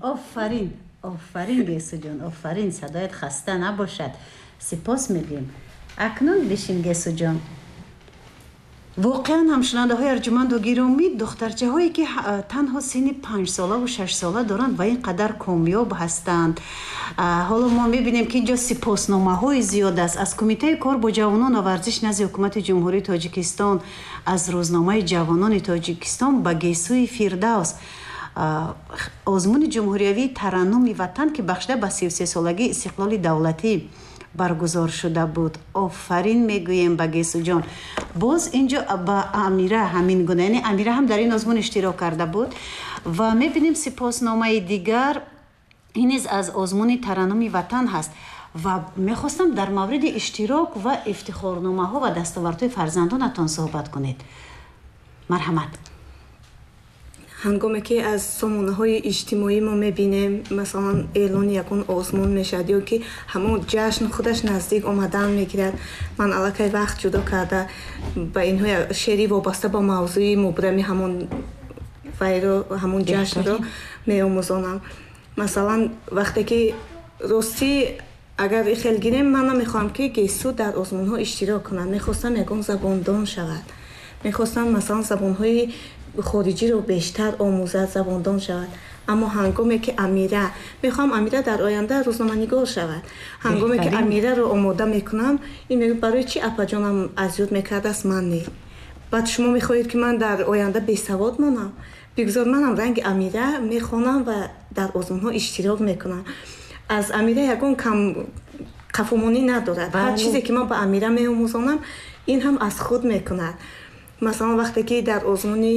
Офарин, офарин, Гесуҷон, офарин, садоят хаста набошад. Сипос мегӯем. Акнун бишин, Гесуҷон. Воқеан ҳам, шунавандаҳои арҷуманду гиромӣ, духтарчаҳое ки танҳо синни 5-солаву 6-сола доранд ва ин қадар комёб ҳастанд. Ҳоло мо мебинем, ки инҷо сипосномаҳои зиёд аст аз Кумитаи кор бо ҷавонон ва варзиш назди Ҳукумати Ҷумҳурии Тоҷикистон, аз рӯзномаи Ҷавонони Тоҷикистон ба Гесӯи Фирдавс, озмуни ҷумҳуриявии Тараннуми Ватан, ки бахшида ба 33-солагии истиқлоли давлатӣ баргузор шуда буд. Офарин мегӯем ба Гесуҷон. Боз инҷо ба Амира ҳамин гуна, яъне Амира ҳам дар ин озмун иштирок карда буд. Ва мебинем сипосномаи дигар, ин низ аз озмуни Тараннуми Ватан ҳаст. Ва мехостам дар мавриди иштирок ва ифтихорномаҳо ва дастовардҳои фарзандонатон суҳбат кунед. Марҳамат. Ҳангоме ки аз сомонаҳои иҷтимоӣ мо мебинем, масалан, эълони ягон озмун мешавад ё ки ҳамон ҷашн худаш наздик омадан мегирад, ман аллакай вақт ҷудо карда ба инҳо шеъри вобаста ба мавзӯи мубрами ҳамон вайро, ҳамон ҷашнро меомӯзонам. Масалан, вақте ки, ростӣ, агар хел гирем, ман намехоҳам, ки Гесу дар озмунҳо иштирок кунад. Мехостам ягон забондон шавад, мехостам, масалан, забонҳои хориҷиро бештар омӯзад, забондон шавад. Аммо ҳангоме ки Амира, мехоҳам Амира дар оянда рӯзноманигор шавад, ҳангоме ки Амираро омода мекунам, ин мегӯяд: «Барои чӣ апаҷонам аз ёд мекардааст, ман не? Баъд шумо мехоҳед, ки ман дар оянда бесавод монам? Бигзор манам ранги Амира мехонам ва дар озмунҳо иштирок мекунам». Аз Амира ягон кам қафомонӣ надорад. Ҳар чизе ки ман ба Амира меомӯзонам, ин ҳам аз худ мекунад. Масалан, вақте ки дар озмуни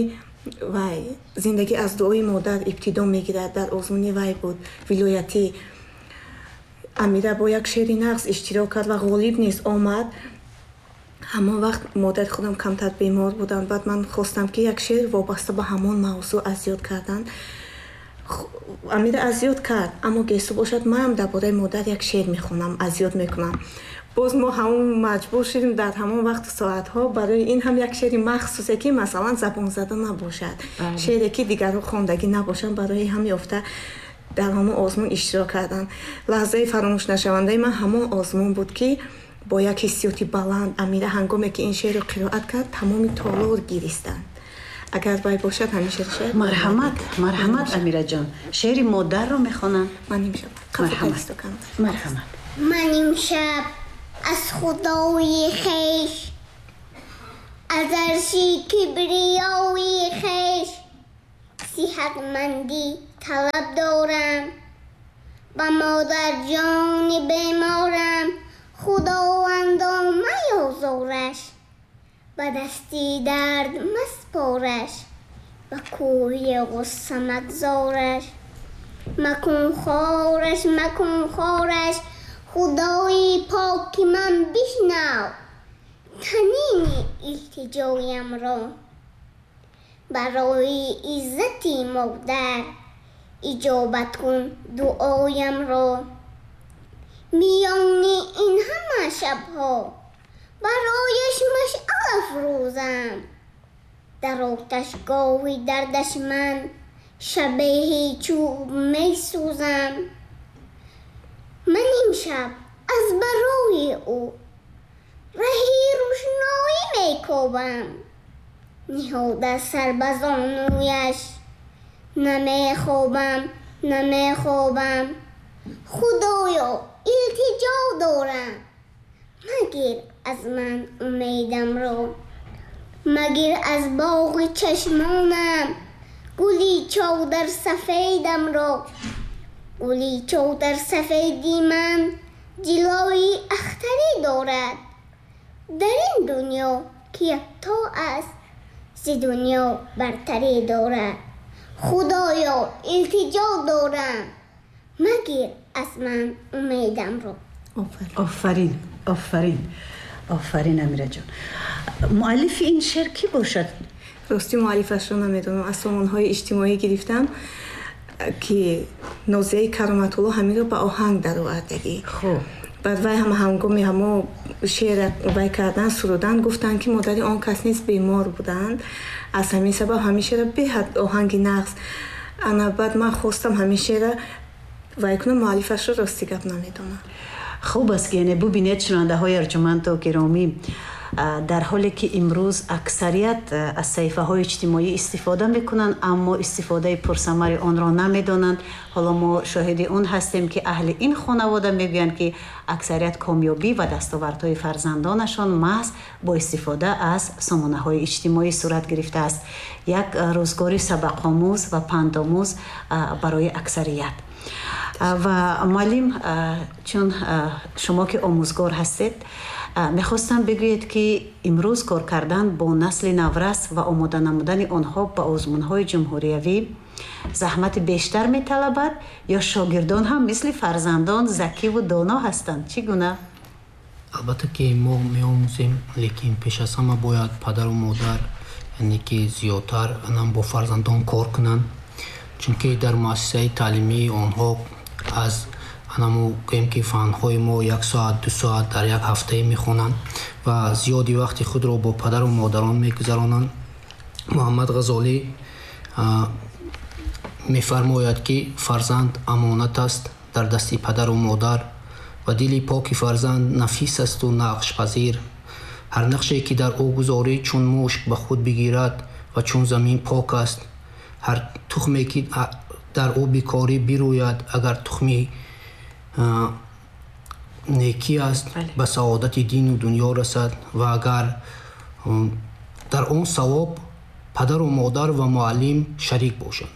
вай «Зиндагӣ аз дуои модар ибтидо мегирад», дар озмуни вай буд вилоятӣ, Амира бо як шеъри нағз иштирок кард ва ғолиб низ омад. Ҳамон вақт модари худам камтар бемор буданд. Баъд ман хостам, ки як шеър вобаста ба ҳамон мавзӯъ аз ёд кардан. Амира аз ёд кард, аммо Гесу бошад: «Манам дар бораи модар як шеър мехонам, аз ёд мекунам». Боз мо ҳамон маҷбур шудем дар ҳамон вақту соатҳо барои ин ҳам як шеъри махсусе, ки масалан забонзада набошад, шеъре ки дигарҳо хондагӣ набошанд, барои ҳам ёфта дар ҳамон озмун иштирок кардан. Лаҳзаи фаромӯшнашавандаи ман ҳамон озмун буд, ки бо як ҳиссиёти баланд Амира ҳангоме ки ин шеърро қироат кард, тамоми толор гиристанд. Агар вай бошад, ҳамин шеър шояд. Марҳамат, марҳамат, Амираҷон, шеъри модарро мехонам. Ман имшаб. Марҳамат. Ман имшаб аз худои хеш, аз арши кибриёи хеш сиҳатмандӣ талаб дорам. Ба модарҷони беморам, Худовандо, маёзораш, ба дасти дард маспораш, ба кӯҳи ғусса магзораш. Макун хораш, макун хораш. Худои поки ман, бишнав танини илтиҷоямро. Барои иззати модар иҷобат кун дуоямро. Миёни ин ҳама шабҳо барояш машъал афрӯзам, дар оташгоҳи дардаш ман шабеҳи чӯб месӯзам. Ман имшаб аз барои ӯ раҳи рӯшноӣ мекобам, ниҳода сар ба зонӯяш намехобам, намехобам. Худоё, илтиҷо дорам, магир аз ман умедамро, магир аз боғи чашмонам гули чодарсафедамро. Гули чодарсафеди ман ҷилои ахтарӣ дорад, дар ин дунё ки якто аст, зи дунё бартарӣ дорад. Худоё, илтиҷо дорам, магир аз ман умедамро. Офарин, офарин, офарин, Амираҷон. Муаллифи ин шеър кӣ бошад? Ростӣ, муаллифашро намедонам, аз сомонҳои иҷтимоӣ гирифтам, ки Нозияи Кароматулло ҳаминро ба оҳанг даровардагӣ. Баъд вай ҳам ҳангоми ҳамо шеър вай кардан, сурудан, гуфтанд, ки модари он кас низ бемор буданд, аз ҳамин сабаб ҳамин шеъра беҳад оҳанги нағз. Ана баъд ман хостам ҳамин шеъра вай кунам, муаллифашро рости гап намедонам. Хуб аст, ки яъне бубинед, шунавандаҳои арҷуманду гиромӣ, дар ҳоле ки имрӯз аксарият аз саҳифаҳои иҷтимоӣ истифода мекунанд, аммо истифодаи пурсамари онро намедонанд. Ҳоло мо шоҳиди он ҳастем, ки аҳли ин хонавода мегӯянд, ки аксарият комёбӣ ва дастовардҳои фарзандонашон маҳз бо истифода аз сомонаҳои иҷтимоӣ сурат гирифтааст. Як рӯзгори сабақомӯз ва пандомӯз барои аксарият. Ва муаллим, чун шумо ки омӯзгор ҳастед, мехостам бигӯед, ки имрӯз кор кардан бо насли наврас ва омода намудани онҳо ба озмунҳои ҷумҳуриявӣ заҳмати бештар металабад ё шогирдон ҳам мисли фарзандон закиву доно ҳастанд? Чӣ гуна? Албатта ки мо меомӯзем, лекин пеш аз ҳама бояд падару модар, яъне ки зиёдтар бо фарзандон кор кунанд, чунки дар муассисаи таълимии онҳо аз анаму гӯем ки фанҳои мо як соат, 2 соат дар як ҳафтае мехонанд ва зиёди вақти худро бо падару модарон мегузаронанд. Муҳаммад Ғазолӣ мефармояд, ки фарзанд амонат аст дар дасти падару модар ва дили поки фарзанд нафис асту нақшпазир. Ҳар нақше ки дар ӯ гузорӣ, чун мушк ба худ бигирад ва чун замин пок аст. Ҳар тухме ки дар ӯ бикорӣ, бирӯяд, агар тухми некӣ аст, ба саодати дину дунё расад ва агар дар он савоб падару модар ва муаллим шарик бошанд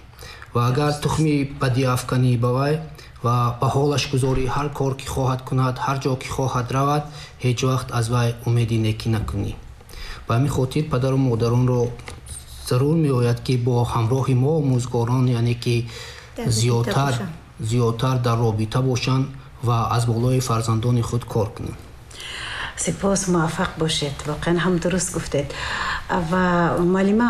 ва агар тухми бадӣ афканӣ ба вай ва ба ҳолаш гузорӣ, ҳар кор ки хоҳад кунад, ҳар ҷо ки хоҳад равад, ҳеҷ вақт аз вай умеди некӣ накунӣ. Ба ҳамин хотир падару модаронро зарур меояд, ки бо ҳамроҳи мо омӯзгорон, яъне ки зиёдтар дар робита бошанд ва аз болои фарзандони худ кор кунанд. Сипос, муваффақ бошед. Воқеан ҳам дуруст гуфтед. Ва муаллима,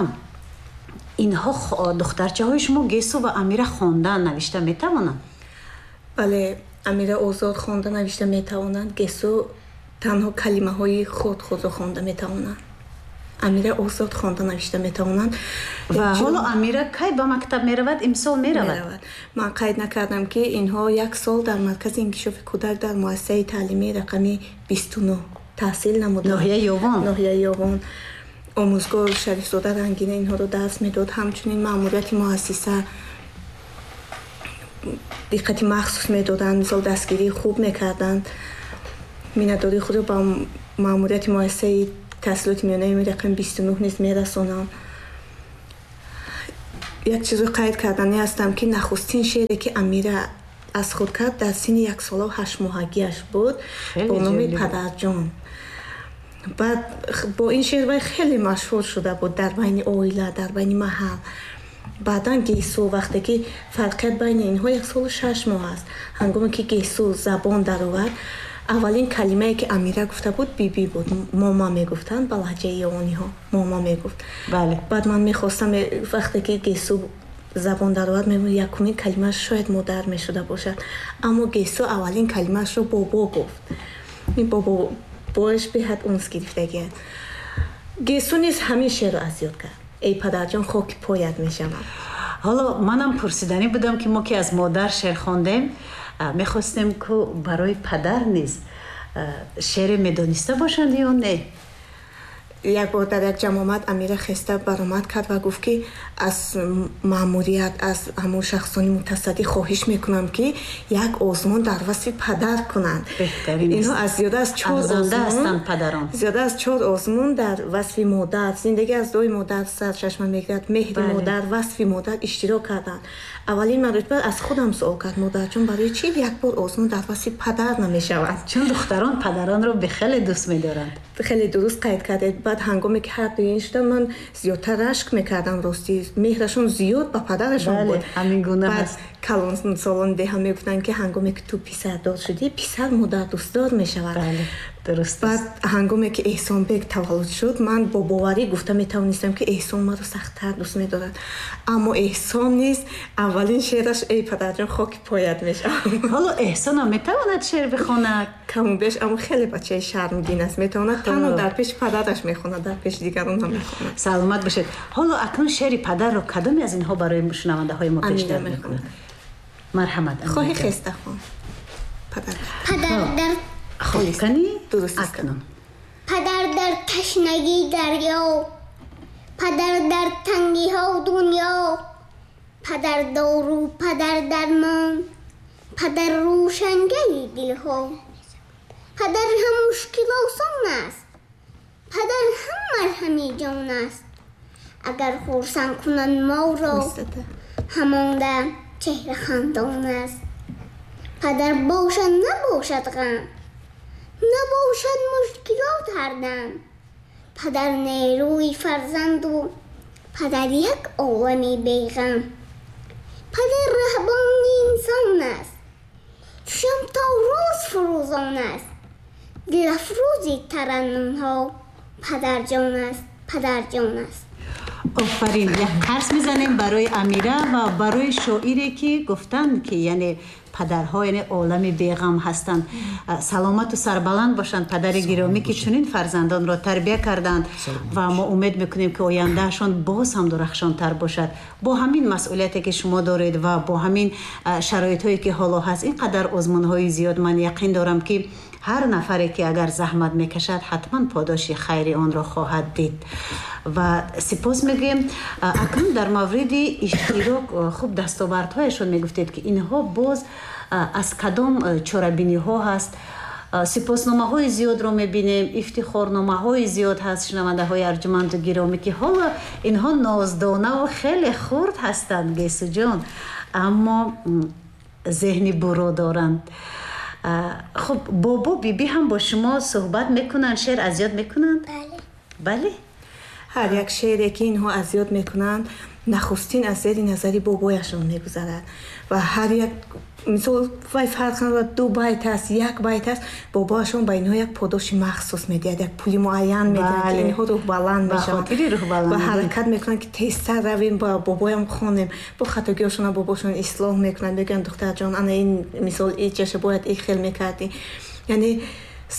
инҳо, духтарчаҳои шумо Гесу ва Амира, хондан навишта метавонанд? Бале, Амира озод хонда навишта метавонанд. Гесу танҳо калимаҳои худ худро хонда метавонанд. Амира озод хонда навишта метавонанд. Ва ҳоло Амира кай ба мактаб меравад? Имсол меравад? Ман қайд накардам, ки инҳо як сол дар маркази инкишофи кӯдак дар муассисаи таълимии рақами 29 таҳсил намуданд. Ноҳияи Ёвон. Ноҳияи Ёвон. Омӯзгор Шарифзода Рангина инҳоро дарс медод. Ҳамчунин маъмурияти муассиса диққати махсус медоданд, мисол, дастгирии хуб мекарданд. Миннатдории худро ба маъмурияти муассисаи таҳсилоти миёнаи рақами 29 низ мерасонам. Як чизро қайд карданӣ ҳастам, ки нахустин шеъре, ки Амира аз худ кард, дар синни 1 солаву 8 моҳагиаш буд, бо номи «Падарҷон». Баъд бо ин шеър вай хеле машҳур шуда буд дар байни оила, дар байни маҳал. Баъдан Гесу, вақте ки фарқият байни инҳо 1 солу 6 моҳ аст, ҳангоме ки Гесу забон даровард, аввалин калимае, ки Амира гуфта буд, «биби» буд. «Мома» мегуфтанд ба лаҳҷаи ёвониҳо, «мома» мегуфт. Баъд ман мехостам, вақте ки Гесу забон даровард, якумин калимааш шояд «модар» мешуда бошад, аммо Гесу аввалин калимаашро «бобо» гуфт. Ин бобо боаш беҳад унс гирифтагиаст. Гесу низ ҳамин шеърро аз ёд кард: «Эй падарҷон, хоки поят мешавам». Ҳоло манам пурсиданӣ будам, ки мо ки аз модар шеър хондем, мехостем, ку барои падар низ шеъре медониста бошанд ё не. Як бор дар як ҷамъомад Амира хеста баромад кард ва гуфт, ки аз маъмурият, аз ҳамон шахсони мутасаддӣ хоҳиш мекунам, ки як озмун дар васфи падар кунанд. Инҳо аз зиёда аз чор падарон. Зиёда аз чор озмун дар васфи модар, «Зиндагӣ аз дуои модар сарчашма мегирад», «Меҳри модар», «Васфи модар» иштирок карданд. Аввалин маротиба аз худам суол кард: «Модарҷон, барои чӣ як бор озмун дар васфи падар намешавад?» Чун духтарон падаронро хеле дӯст медоранд. Хеле дуруст қайд кардед. Баъд ҳангоме ки ҳар дуи ин шуда, ман зиёдтар рашк мекардам. Ростӣ, меҳрашон зиёд ба падарашон буд. Ҳамин гуна. Баъд калонсолони деҳа мегуфтанд, ки ҳангоме ки ту писардор шудӣ, писар модардӯстдор мешавад. Дуруст. Баъд ҳангоме ки Эҳсонбек таваллуд шуд, ман бо боварӣ гуфта метавонистам, ки Эҳсон маро сахттар дӯст медорад. Аммо Эҳсон низ аввалин шеъраш «Эй падарҷон, хоки поят мешавам». Ҳоло Эҳсонам метавонад шеър бихонад? Каму беш, аммо хеле бачаи шармгин аст. Метавонад танҳо дар пеши падараш мехонад, дар пеши дигарон намехонад. Саломат бошед. Ҳоло акнун шеъри падарро кадоме аз инҳо барои шунавандаҳои мо пешниҳод мекунад? Марҳамат. Хоҳӣ хеста хон. Падар. Падар дар хоб кани? Дуруст аст. Акнун. Падар дар ташнагии дарё, падар дар тангиҳо дунё, падар дору, падар дармон, падар рӯшангари дилҳо, падар ҳам мушкил осон аст, падар ҳам марҳами ҷон аст. Агар хурсанд кунанд моро, ҳамон дам чеҳра хандон аст. Падар бошад, набошад ғам, набошад мушкилот ҳардам. Падар нерӯи фарзанду падар як олами беғам. Падар раҳбони инсон аст, чушам то рӯз фурӯзон аст. Дилафрӯзи тараннумҳо падарҷон аст, падарҷон аст. Офарин. Як қарс мезанем барои Амира ва барои шоире ки гуфтанд, ки яъне падарҳо яъне олами беғам ҳастанд. Саломату сарбаланд бошанд падари гиромӣ, ки чунин фарзандонро тарбия карданд ва мо умед мекунем, ки ояндаашон боз ҳам дурахшонтар бошад. Бо ҳамин масъулияте ки шумо доред ва бо ҳамин шароитҳое ки ҳоло ҳаст, ин қадар озмунҳои зиёд, ман яқин дорам, ки ҳар нафаре ки агар заҳмат мекашад, ҳатман подоши хайри онро хоҳад дид. Ва сипос мегӯем. Акнун дар мавриди иштирок, хуб, дастовардҳояшон мегуфтед, ки инҳо боз аз кадом чорабиниҳо ҳаст. Сипосномаҳои зиёдро мебинем, ифтихорномаҳои зиёд ҳаст, шунавандаҳои арҷуманду гиромӣ, ки ҳоло инҳо ноздонаву хеле хурд ҳастанд, Гесуҷон, аммо зеҳни буро доранд. Хуб, бобо, бибӣ ҳам бо шумо суҳбат мекунанд, шеър аз ёд мекунанд? Бале. Бале. Ҳар як шеъре ки инҳо аз ёд мекунанд, нахустин аз зери назари бобояшон мегузарад. Ва ҳар як мисол, вай фарқ надорад, ду байт аст, як байт аст, бобояшон ба инҳо як подоши махсус медиҳад, як пули муайян медиҳад, ки инҳо рӯҳбаланд Ба мешаванд. хотири рӯҳбаландӣ. Ва ҳаракат мекунанд, ки тезтар равем, ба бобоям хонем. Бо хатогиҳошона бобошон ислоҳ мекунанд, мегӯянд: «Духтарҷон, ана ин мисол иҷаша бояд ин хел мекардӣ». Яъне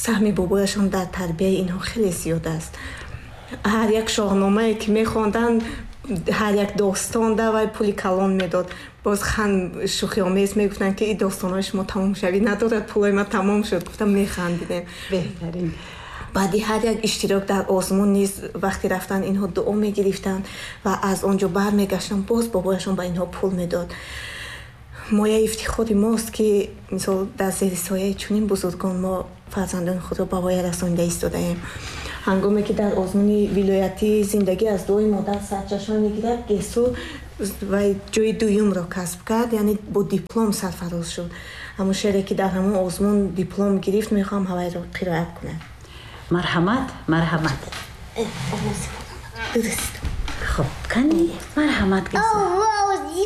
саҳми бобояшон дар тарбияи инҳо хеле зиёд аст. Ҳар як шоҳномае ки мехонданд, ҳар як достон да вай пули калон медод. Боз хан шӯхиомез мегуфтанд, ки ин достонҳои шумо тамомшавӣ надорад, пулои ман тамом шуд. Гуфтам, механдидем. Беҳтарин. Баъди ҳар як иштирок дар озмун низ вақти рафтан инҳо дуо мегирифтанд ва аз он ҷо бармегаштанд, боз бобояшон ба инҳо пул медод. Мояи ифтихори мост, ки мисол дар зери сояи чунин бузургон мо фарзандони худро ба воя расонида истодаем. Ҳангоме ки дар озмуни вилоятӣ «Зиндагӣ аз дуои модар сарчашма мегирад» Гесу вай ҷои дуюмро касб кард, яъне бо диплом сарфароз шуд. Ҳамон шеъре ки дар ҳамон озмун диплом гирифт, мехоҳам ҳавайро қироат кунам. Марҳамат, марҳамат. Дуруст. Хуб, кани, марҳамат, Гесу. Овози